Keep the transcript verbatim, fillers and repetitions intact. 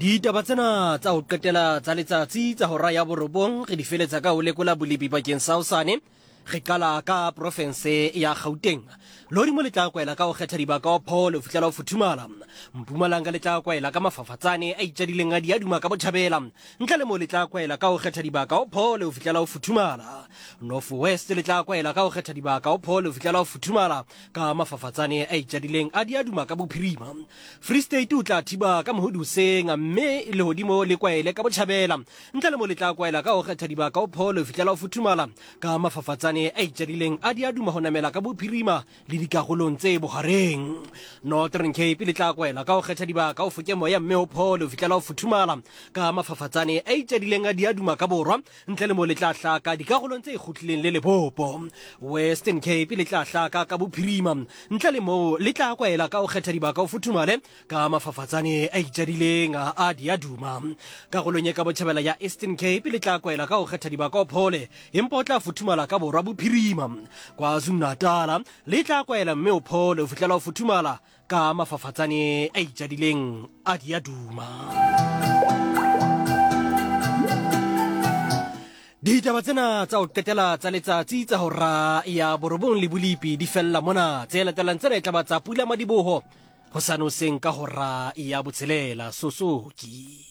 Ditaba tsena tsa ho qetela tsa letsatsi tsa hora ya borobong re di feletsa ka ho lekola bolepi bakeng sa hosane. Re qala ka profense ya Gauteng. Lehodimo le tla kwaela ka ho kgetha dibaka ho phole ho fihlela ho futhumala. Mpumalanga le tla kwaela ka mafafatsane a itjadileng a diaduma ka botjhabela. Ntle le moo le tla kwaela ka ho kgetha dibaka ho phole ho fihlela ho futhumala. North West le tla kwaela ka ho kgetha dibaka ho phole ho fihlela ho futhumala ka mafafatsane a itjadileng a diaduma ka bophirima. Free State o tla thiba ka mohodi hoseng mme lehodimo le kwaele ka botjhabela. Ntle le moo le tla kwaela ka ho kgetha dibaka ho phole ho fihlela ho futhumala ka mafafatsane a itjadileng a diaduma ho namela ka bophirima le dikarolong tse bohareng. Northern Cape le tla kwaela ka ho kgetha dibaka ho foke moya mme ho phole ho fihlela ho futhumala ka mafafatsane a itjadileng a diaduma ka borwa. Ntle le moo le tla hlaka dikarolong tse kgutlileng le lebopo. Western Cape le tla hlaka ka bophirima. Ntle le moo le tla kwaela ka ho kgetha dibaka ho futhumale ka mafafatsane a itjadileng a diaduma. Karolong e ka botjhabela ya Eastern Cape le tla kwaela ka ho kgetha dibaka ho phole empa o tla futhumala ka borwa bophirima. KwaZulu-Natal le tla kwaela mme o phole ho fihlela ho futhumala ka mafafatsane a itjadileng a diaduma. Ditaba tsena tsa ho qetela tsa letsatsi tsa hora ya borobong le bolepi di fella mona. Tse latelang tsena e tla ba tsa pula madiboho hosane hoseng ka hora ya botshelela. Sosoki.